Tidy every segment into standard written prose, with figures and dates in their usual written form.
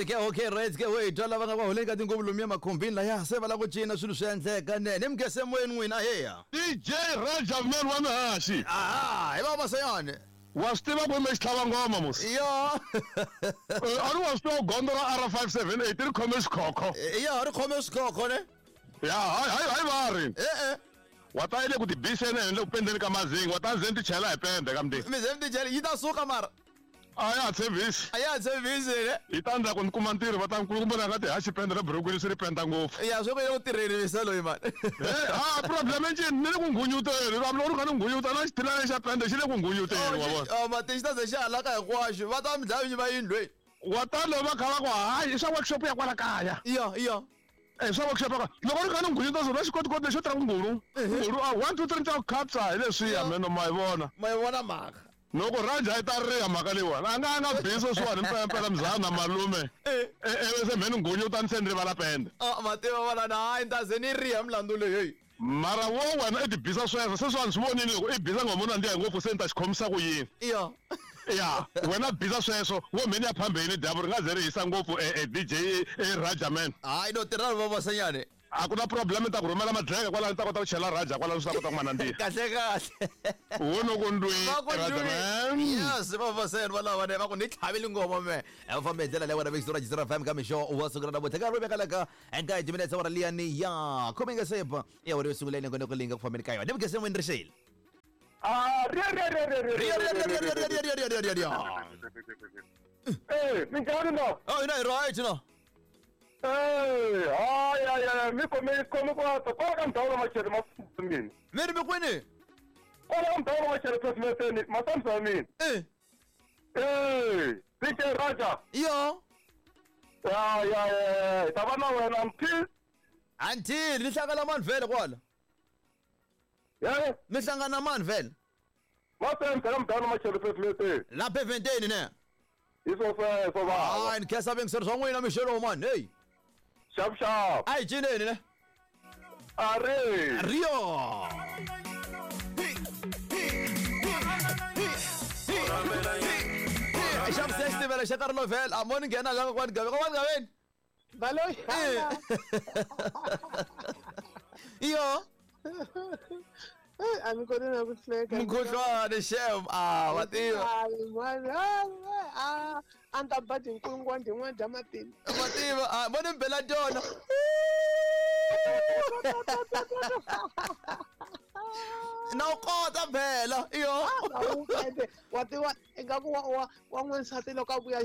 Okay, okay, right ke we twa lava nga va holeni ka tinguvu lomuya makhumbini laya se va lava ku cina swilo swi endleka nene mi gese moyeni n'wina heya DJ Raja man wa mihaxi aha hi va masayani wa swi tiva ku mi xitlhava ngoma musi yo a ri wa swi tiva gondzo ra R578 ri khome xikhokho ya ri khome swikhokho ne ya hayi hayi hayi va ri e-e wa ta yi le ku tibiseni henhla ku pendeni ka mazinga wa ta ndzeni ti chela hi pende ka mndeni mi ze mi tichela yi ta suka mara a ya ha tshembisi a ya ha tshembisi ne hi ta ndza ku ni kuma ntirho va ta nkulukumba na nga tihaxi pende ra burukwini swi ri penda ngopfu ya swi ku ye ku tirheni misa loyi mani Eh, ha problem encini ni le ku ngunyuteni vanhu loko ri kha ni ngunyuta na xitilana xa pende xi le ku ngunyuteni wa vona mati xi ta ze xi halaka hinkwaxo va ta mi dlaya vinyi va yindlu leyi wa ta loko va kha va ku hayi i swa workshop ya kwala kaya iya iya Eh, swa workshop ya kwala loko ri kha ni ngunyuta swona xikotikoti lexo tirha ku ngulu ngulu a 1 2 3 ta ku khatsa hi leswiya meno ma yi vona ma yi vona mhaka loko raja yi ta riha mhaka leyiwani a nga a nga biso swiwani mpelampela mzana malume Eh. eve se mheni ngunyuta ni se ni rivala pende Ah, ma tiva valana hayi ni ta ze ni riha milandzu leyi heyi mara wo wena i tibisa sweswo se swiwani swi vonile loko i bisa ngoma u nandziha ngopfu se ni ta xi khomisa ku yini iya ya wena bisa sweswo wo mheni ya phambeni dyambu ri nga ze ri hisa ngopfu e DJ e raja man hayi no tirha va masanyane a ku na problem ni ta ku rhumela madleka kwalano ni ta kota ku chela raja kwalano swi ta kota ku ma nandziha kahle kahle wo no ku ndwi Va ku raja ndwi. man yes va vaseni valava ne va ku ni tlhavile ngoma me va fambe hi ndlela leyi wena vekisi ra jisira fm ka mixo wa siku ra namuntlha ka ri vekalaka eka hi timinetse wara liyani ya khume nga sepa ya wari yo sungula yi ku linga ku fambeni ka yona ni mugese n'wini ri xile Ah, ri ri ri ri ri Ri- ri- ri- ri- ri- ri- ri- ri- ri- ri- ri- Eh, minjhani no? Oh, hina hi right no Eh, hayi hayi hayi mi khome khome ku ata kwala ka ndhawu la machele ma mina. mi ri mi kwini Kwala ka ndhawu la machele presidenteni masambisa ya mina. Eh, Eh, DJ Raja. yo Ya ya ya, hi ta va na wena until until ni hlangana mani vhele kwala yeah, mi hlangana mani vhele masambisa ka ndhawu la machele presidenteni. lapha eventeni ne Hi swo sweswo va. hayi ni khensa vingiseri swa n'wina mixelo mani heyi Xap xap. a hi cineni ne A ri. rio xa xitivela xa nkarhi lovhela a mo ni nghena la kokwani gaveni kokwani gaveni Baloyi. iyo Eh, a mi koti na ku hleka. mukhuhlwani xem a wa tiva Hayi, mani, ah, a ni ta ba tinkulungwana tin'wana dya matimba. wa tiva a mo ni bela tona na u kota phela iyo Awukende, wa tiva ingaku wa wa wa n'wansati loko a vuya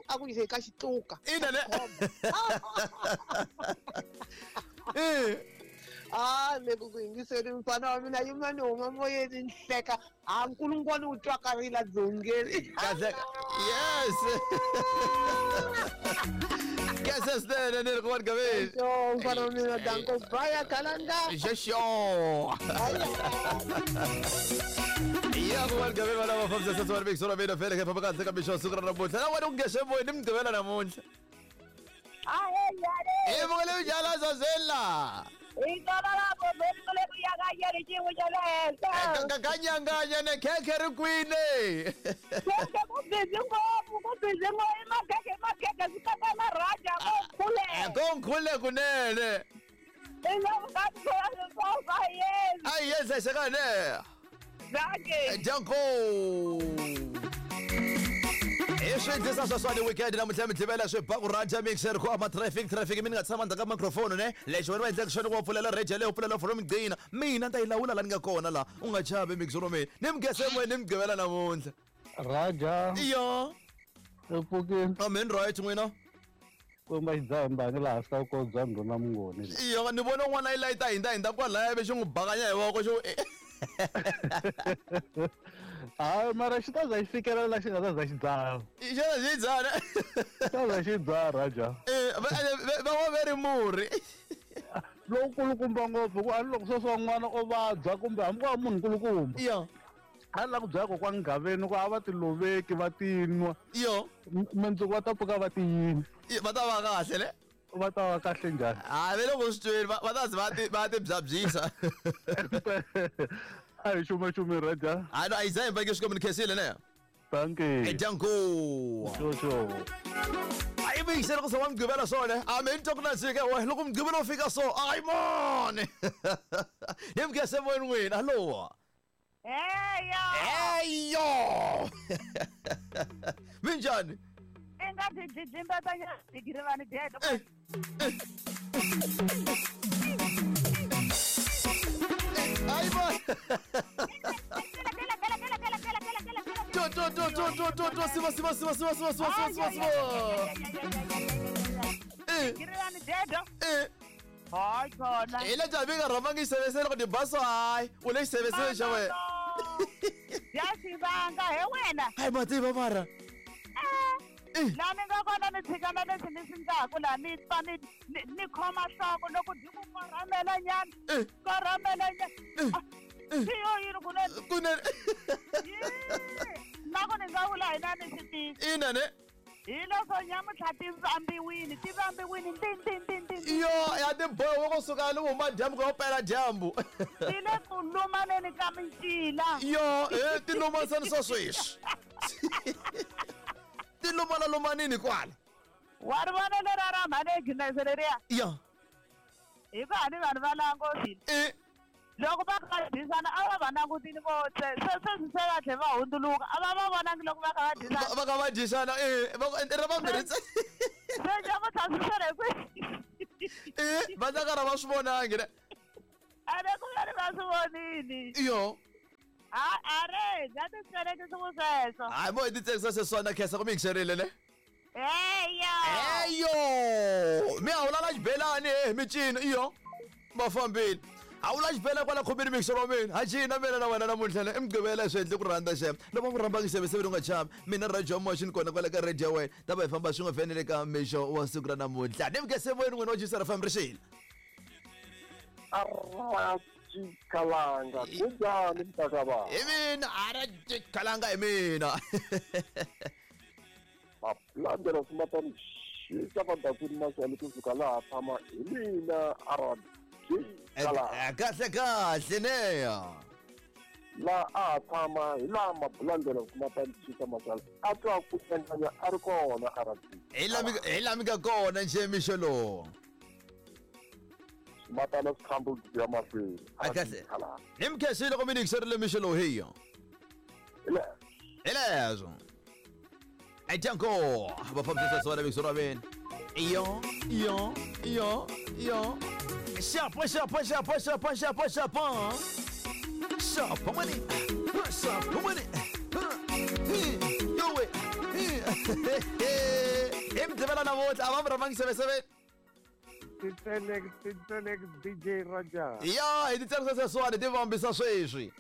a ku yise ka xitluka. ina ne Eh. Ah, le ku ku yingiseni mfana wa mina yima ni huma moyeni ni hleka. Ah, nkulungwana wu twakarile dzongeni. kahle yes kese swinene ni ri kokwani gaveni Yo, mfana wa mina danko baya kalanga. xexo ya kokwani gaveni vana va fambisa sesi wa ri ra mina vhele famba kahle ka mixo siku ra namuntlha na wena ku ngexe moyeni ni mugqivela namuntlha i vuka leyi njhani zazela kanyanganya ne khekhe ri kwini ko nkhule kunene a hi yenzexekane danko hi swi endlisa sweswani weekend namuntlha mi dlivela swi ba ku rhandza mixer ku ama traffic traffic mi ni nga tshama ndzhaku ka microphone ne lexi wena va endleka xona ku va pfulela radio leyo pfulela from gcina mina ni ta yi lawula la ni nga kona la u nga chavi mixer wa mina ni mi gese moyeni ni mi gqivela namuntlha Raja iyo ri pfukini amen right n'wina kwemba xidzaha mbangi laha hansi ka vukosi bya ndhuna mungoni iyo ni vona un'wana yi layita hindza hindza kwalaya ve xi n'wi bakanya hi voko xo hayi mara xi ta za xi fikelela la xi nga ta za xi dzaha xana xi dzana xi ta za xi dzaha Raja va va ve ri murhi lowukulukumba ngopfu ku a ni loko sweswi wa n'wana o vabya kumbe hambi ku va munhu nkulukumba iyo a ni la ku byela kokwani Gaveni ku a va ti loveki va ti nwa iyo mundzuku va ta pfuka va ti yini va ta va kahle ne va ta va kahle njhani hayi ve le ku swi tweni va ta ze va ti byabyisa a hi xumaxumi Raja hayi no a yi za hi mbeke xikwembu ni khensile ne dankie danko xo xo a yi miyingisele ku wa mugqivela swona a mi ni twa ku nandzika we loko mugqivela wu fika so ayi mani ni mi khense moyeni n'wina hallo. Heyo! Eyo minjhani? I nga byi dlidlimbetanyana digirivani dedo. Eh, eh. Ayi mani. To to to to to to to siva siva siva siva siva siva siva siva siva. Eh. Digirivani dedo. Eh. Hayi khona. Hi le javi nga rhamangi xisevesele loko tibaso hayi u le xisevesele xa wena. Ya xivanga he wena. Hayi mativa mara. Eh. Laha ni nga kona ni tshika na leswi ni swi ndlaku laha ni pfa ni ni khoma nhloko loko byi ku korhamela nyana. Eh. Korhamela nyana. Swi yo yini kunene? Kunene. Na ku ni nga vula hina ni swi tivi. Ina ne. Hi loko nyamuntlha ti vambiwini ti vambiwini nti nti nti nti nti. Yo ya tiboho kusuka ni huma dyambu ku ya pela dyambu. Ti le ku lumaneni ka micila. Yo e ti lumanisani swa sweswi. Ti lumana lumanini kwala. Wa ri vona lera ra mhani Agnes leriya? Ya. Hi ku a ni vanhu va langutile. E. Loko va kha va dyisana a va va langutile vo se se sweswi se va tlhe va hundzuluka a va va vonangi loko va kha va dyisana. Va kha va dyisana e va ku ra vambirhi Se nyamuntlha swi swele kwihi? E va ta karhi va swi vonangi ne. A le ku ve ni va swi vonini. Yo. A a re bya titshelekisi ku sweswo. Hayi mo hi ti tsakisa sweswiwani na khensa ku mi yingiserile ne. Heyo! Eyo! Mi hawula xibelani he micino iyo va fambile. Hawula xibelani kwala khomeni mixero wa mina. Ha cina mina na wena namuntlha le i mugqivela swi endle ku rhandza xem. Loko ku rhamba xiseveseve u nga chavi. Mina Radio Motion kona kwala ka radio ya wena. Ta va hi famba swin'we vhenele ka mixo wa siku ra namuntlha. Ni mukese moyeni n'wina wa Jisara FM rixile. Arati Kalanga kunjani mntakababa? Hi mina Arati Kalanga hi mina. Malandela swimatani xisa vandakwini maswali kusuka laha tshama hi mina Arati Kalanga. Kahle kahle neya. Laha a ha tshama hi laha mabulandela swimatani xisa maswali a twa ku endlanya a ri kona Arati. Hi laha mi nga kona nje mixo lowu. Swimatana swikhambo ya mahlweni. A kahle. Ni mi khensile loko mi ni yingiserile mixo lowu hiyo. Hi leswo. Ajanko va fambisa swona mixo ra mina. Iyo iyo iyo iyo. Xapo xapo xapo xapo xapo xapo. Xapo mani. Xapo mani. Yowe. Hi mugqivela namuntlha a va mi rhamangi seveseve. Titselex titselex DJ Raja. Ya hi ti tsarisa sweswiwani ti vambisa sweswi.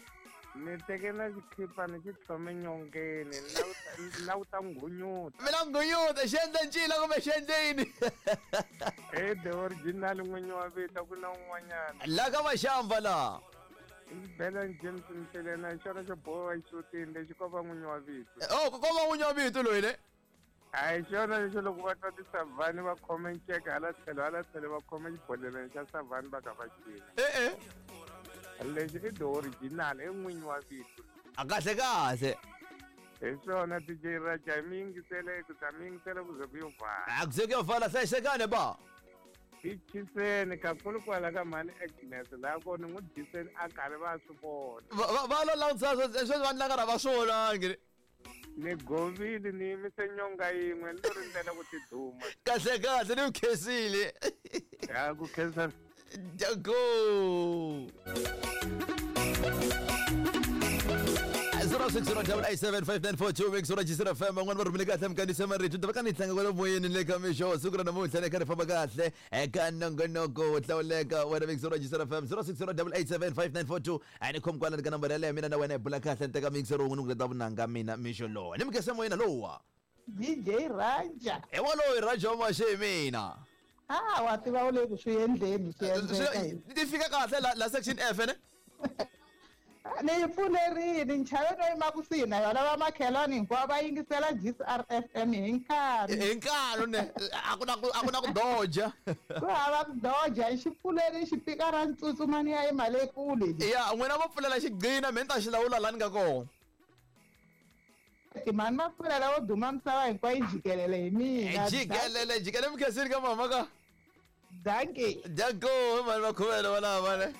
Ni teke na xikhipa ni xi tlhome nyongeni ni lawuta nghunyuta. Mina nghunyuta xi endle ncila kumbe xi endle yini? He the original n'winyi wa vito ku na un'wanyana. La ka Maxamba laha. Isibelani James Mselena hi xona xo boha xutini lexi ko va n'winyi wa vito. Oh ko va n'winyi wa vito loyi ne? A hi xona lexo loko va twa tisavhani va khome nceka hala tlhelo hala tlhelo va khome xibodhleleni xa savhani va kha va cina. E-e. Lexi i the original i n'winyi wa vito. A kahle kahle. Hi swona DJ Raja mi yingisele ku ta mi yingisele ku ze ku yo vala. A ku ze ku yo vala hlayisekani ba. Hi chiseni kakhulu kwala ka mhani Agnes laha kona n'wi dyiseni a karhi va swi vona. Va lo langutisa sweswi va ndla karhi va swi vonangi. Ni govile ni yimise nyonga yin'we ni lo rindzela ku tiduma. Kahle kahle ni ku khensile. Ya ku khensa. Go. 0608875942 mix ra Jisira FM van'wana va rhumele kahle minkandziyiso marito ta va ka ni tlanga kwala moyeni le ka mixo siku ra namuntlha le kha ri famba kahle eka nongonoko wo hlawuleka wena mix ra Jisira FM 0608875942 a ni khomi kwala ka nambara yaleyo mina na wena hi bula kahle ni teka mixer wun'we ni ku leta vunanga mina mixo lowa ni mi moyeni lowa DJ Raja. Hi waloyi Raja wa Maxe hi mina. Ah wa tiva u le ku swi endleni swi endleka. Ti fika kahle la section F ne? Ni yi pfulerile nchave no yima kusuhi na yona va makhelwani hinkwavo va yingisela GCRFM hi nkarhi. Hi nkarhi ne a ku na ku a ku na ku doja. Ku hava ku doja xi pfulerile xipikara ntsutsumani ya yima le kule. Ya n'wina vo pfulela xigcina mina ni ta xi lawula laha ni nga kona. Mhani Makhuvela lavo duma misava hinkwayo jikelele hi mina. Jikelele jikele mi khensini ka mama ka. Dankie. Danko mhani Makhuvela valava ne.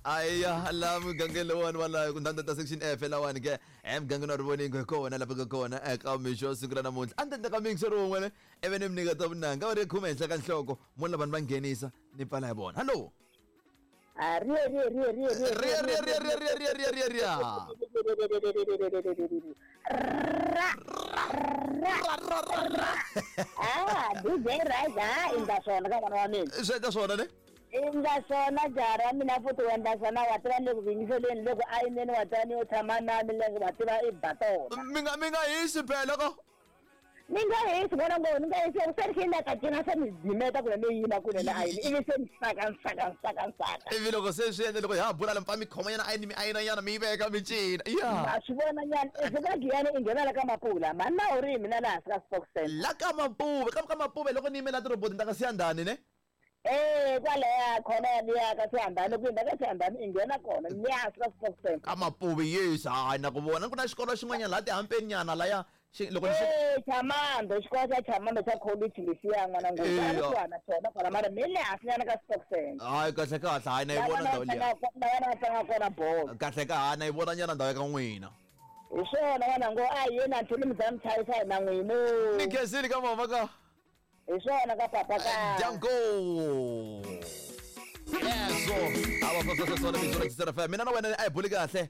Aya la mugangeni lowani walayo ku ndanda ta section F lawani ke emugangeni wa Rivoningo hi kona lapha ka kona eka mixo siku ra namuntlha a ni ta ka mixo rin'we ne ivi ni mi nyika ta vunanga va ri khume henhla ka nhloko mo lava ni va nghenisa ni pfala hi vona hallo. Ria ria ria ria ria ria ria ria ria ria ria ria ria Ah, DJ Rise, ah, endla swona ka n'wana wa mina. Swi endla swona ne? Endla swona jaha ra mina futhi u endla swona wa tiva le ku yingiseleni loko a yimeni wa tiva ni yo tshama na milenge wa tiva i ba tona. Mi nga hisi phela ko. Ni nga hisi vona ngo ni nga hisi se ni xi ka cina se ni dzimeta kule ni yima kule na ayini ivi se ni saka nsaka nsaka nsaka. Ivi loko se swi endla loko hi ha bula la mi pfa mi khoma nyana ayini mi ayina nyana mi yi veka mi cina ya. Ma swi vona nyana i fika Giyani i nghena la ka Mapula mhani na u ri mina laha hansi ka Sports Center. La ka Mapuve ka Mapuve loko ni yime la tiroboti ni ta ka Siyandhani ne. Eh kwalaya khona yaliya ka Siyandhani ku hundza ka Siyandhani i nghena kona le hansi ka Sports Center. Ka Mapuve yes hayi na ku vona ku na xikolo xin'wanyana laha tihampeni nyana laya xi loko ni xi Eh Chamando xikolo xa Chamando xa college lexiya n'wana ngopfu a Eya. kusuhana xona kwala mara mi le hansi nyana ka Sports Center. Hayi kahle kahle hayi na yi La vona vana ndhawu va liya. tlangaka la vana va tlangaka kona bolo. Kahle ka ha na yi vona nyana ndhawu ya ka n'wina. Hi swona n'wana ngo a hi yeni a ni mi za mi chayisa hi na n'wina. Ni khensile ka mama ka. Hi swona ka papa ka. Danko. Yeso. Awa sona vito ra Xitsonga FM. Mina na wena a hi buli kahle.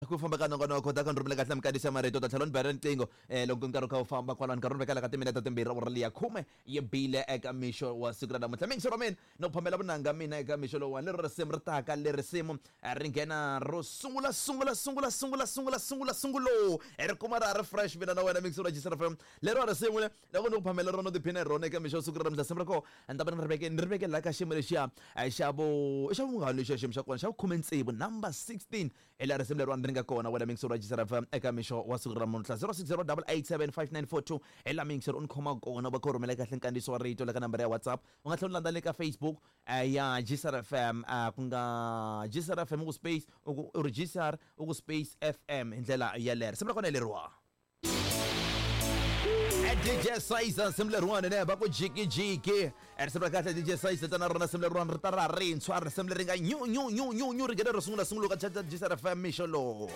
Ku famba ka nongonoko ta ka ni rhumela kahle minkandziyiso ya marito ta tlhela ni bela riqingho loko nkarhi wu kha wu famba kwalano nkarhi wu vekela ka timinete timbirhi awara liya khume yi bile eka mixo wa siku ra namuntlha. Mixo ra mina no ku phamela vunanga mina eka mixo lowuwani lero risimu ri taka leri risimu ri nghena ro sungula sungula sungula sungula sungula sungula sungulo ri kuma ra ha ri fresh mina na wena mixo ra Xitsonga FM lero risimu le loko ni ku phamela rona tiphina hi rona eka mixo wa siku ra namuntlha risimu ra kona ni ta va ni ri veke laha ka xiyimo lexiya xa vo xa vungani lexiya xiyimo xa kona xa vukhume tsevu number 16 hi laha risimu leriwani ri nga kona wena mixo ra Xitsonga FM eka mixo wa siku ra namuntlha 0608875942 hi laha mixo u ni khoma kona va kha u rhumela kahle nkandziyiso wa rito la ka nambara ya WhatsApp u nga tlhela u landza le ka Facebook ya GCR FM ku nga GCR FM u ku space u ku u ri GCR u ku space FM hi ndlela yaleyo risimu ra kona hi leriwa DJ Sizer risimu leriwani ne va ku jikijiki risimu ra kahle DJ Sizer tana rona risimu leriwani ri ta ra rintshwa risimu leri nga nyu nyu nyu nyu nyu ri nghena ro sungula sungula ka GCR FM mixo lowu.